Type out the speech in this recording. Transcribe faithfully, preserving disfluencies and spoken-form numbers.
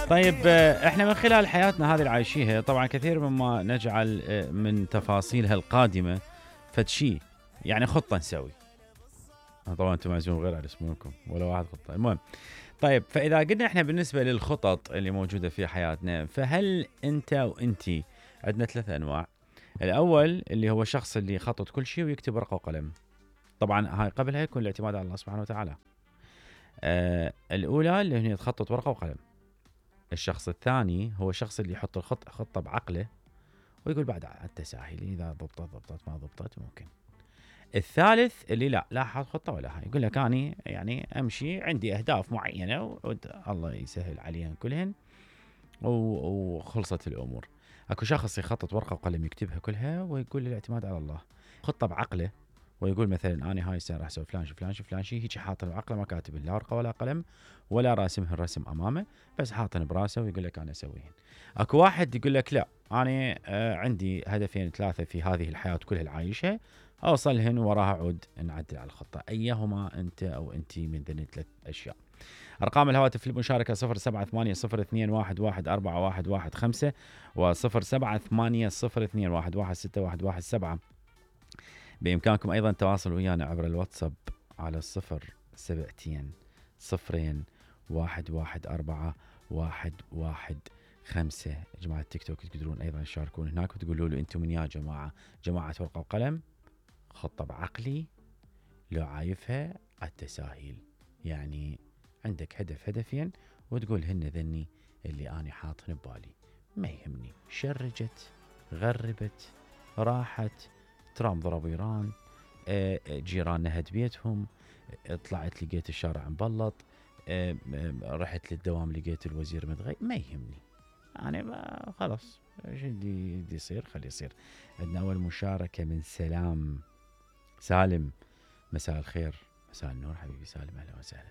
طيب آه، احنا من خلال حياتنا هذه اللي عايشيها طبعا كثير مما نجعل آه، من تفاصيلها القادمة فد شيء، يعني خطة نسوي. طبعا انتم معزوم غير على اسمكم ولا واحد خطة. المهم طيب، فاذا قلنا احنا بالنسبة للخطط اللي موجودة في حياتنا، فهل انت وانتي عندنا ثلاث انواع. الاول اللي هو الشخص اللي يخطط كل شيء ويكتب ورقة وقلم. طبعا هاي قبلها يكون الاعتماد على الله سبحانه وتعالى. آه الاولى اللي هي تخطط ورقة وقلم. الشخص الثاني هو الشخص اللي يحط الخط خطة بعقله ويقول بعد على التساهل، إذا ضبطت ضبطت ما ضبطت ممكن. الثالث اللي لا لا حاط خطة ولا هاي، يقول لك أنا يعني أمشي عندي أهداف معينة والله يسهل عليها كلهن وخلصت الأمور. أكو شخص يخطط ورقة وقلم يكتبها كلها ويقول الاعتماد على الله، خطة بعقله ويقول مثلا أنا هاي السنة راح أسوي فلان شي فلان شي فلان شي، هيك حاطن بعقله ما كاتب لا ورقة ولا قلم ولا راسمها الرسم أمامه، بس حاطن براسه ويقول لك أنا أسويهن. أكو واحد يقول لك لا أنا آه عندي هدفين ثلاثة في هذه الحياة كلها العايشة أوصلهن وراها عود نعدل على الخطة. أيهما أنت أو أنتي من ذني ثلاث أشياء؟ أرقام الهواتف للمشاركة صفر سبعة ثمانية صفر اثنين واحد واحد أربعة واحد واحد خمسة وصفر سبعة ثمانية صفر اثنين واحد واحد ستة واحد واحد سبعة. بإمكانكم أيضا التواصل ويانا عبر الواتساب على الصفر سبعتين صفرين واحد واحد أربعة واحد واحد خمسة. جماعة التيك توك تقدرون أيضا تشاركون هناك وتقولوا له أنتم من يا جماعة، جماعة ورقة وقلم، خطة بعقلي، لو عايفها التساهيل، يعني عندك هدف هدفين وتقول هن ذني اللي أنا حاطن ببالي، ما يهمني شرجت غربت راحت ترام ضرب ايران، جيراننا هد بيتهم، طلعت لقيت الشارع مبلط، رحت للدوام لقيت الوزير متغير، ما يهمني انا خلاص ايش اللي يصير خلي يصير. عندنا اول مشاركة من سلام. سالم مساء الخير. مساء النور حبيبي سالم، اهلا وسهلا.